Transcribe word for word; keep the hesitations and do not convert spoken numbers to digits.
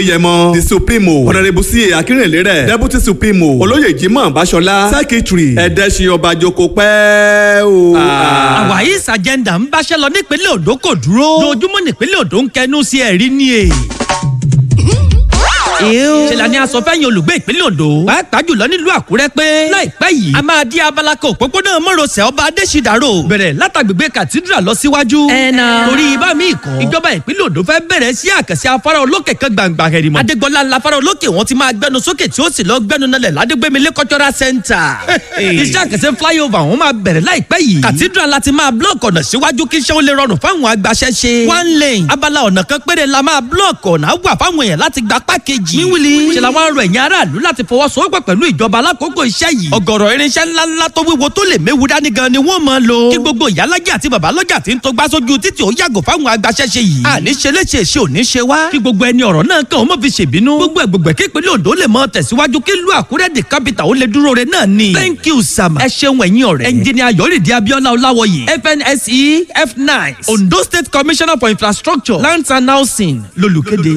Yẹmọ the supremo Honourable C A Akínrìnlérẹ̀ deputy supremo olóyè Jimoh Báṣọlá secretary Ẹ̀dẹ́sìn ọba joko pẹ́ o. Àwáyís agenda ń báṣẹ́ lọ nípínlẹ̀ Ondo kò dúró. Lójúmọ́ nípínlẹ̀ Ondo ń kẹnu sí ẹ̀rí ni è. Ṣe la ni a sọ fẹ́yìn olùgbé ìpínlẹ̀ Ondo, pàápàá jùlọ nílùú Àkúrẹ́ pé láìpẹ́ yìí a máa di abala kan òpópónà mọ́rọ̀sẹ̀ ọba Adéṣídàrò bẹ̀rẹ̀ látàgbègbè Cathedral lọ síwájú. Ẹ̀nà torí ibà míì kan ìjọba ìpínlẹ̀ Ondo fẹ́ bẹ̀rẹ̀ sí àkànṣe afárá olókè kan gbàǹgbà hẹ̀rìmọ̀. Adégbọlá ńlá afárá olókè wọn ti máa gbẹnu sókè tí ó sì lọ gbẹnu nalẹ̀ ládégbémilé cultural center. Iṣẹ́ àkànṣe flyover wọn máa bẹ̀rẹ̀ láìpẹ́ yìí. Cathedral láti máa block ọ̀nà síwájú kí iṣẹ́ ó lè rọrùn fáwọn agbaṣẹ́ṣe. One lane abala ọ̀nà kan péré la máa block ọ̀nà wà fáwọn èèyàn láti gba pákéjì. Wíwìlì ṣe làwọn arọ ẹ̀yìn aráàlú láti fọwọ́sowọ́pọ̀ pẹ̀lú ìjọba alákòókò iṣẹ́ yìí. Ọ̀gọ̀rọ̀ irinṣẹ́ ńláńlá tó wíwo tó lè méwu dání gan ni wọ́n máa lò. Kí gbogbo ìyálájẹ́ àti babalọ́jà tí ń tó gbá sójú títì ó yàgò fáwọn agbaṣẹ́ṣe yìí. Àní ṣe léṣe ṣe ò ní ṣe wá. Kí gbogbo ẹni ọ̀rọ̀ náà kàn ó mọ̀ fi ṣèbínú. Gbogbo ẹ̀gbọ̀gbẹ̀ kí ìpínlẹ̀ Ondo lè mọ tẹ̀síwájú kí ìlú Àkúrẹ́ the capital ó lè dúró re náà ni. Thank you Sama. Ẹ ṣeun ẹ̀yin ọ̀rẹ́. Ẹnjìnìà Yọ̀rìndé Abíọ́lá Ọláwọyè F N S E F nine Ondo State Commissioner for Infrastructure Lands and Housing lolùkéde.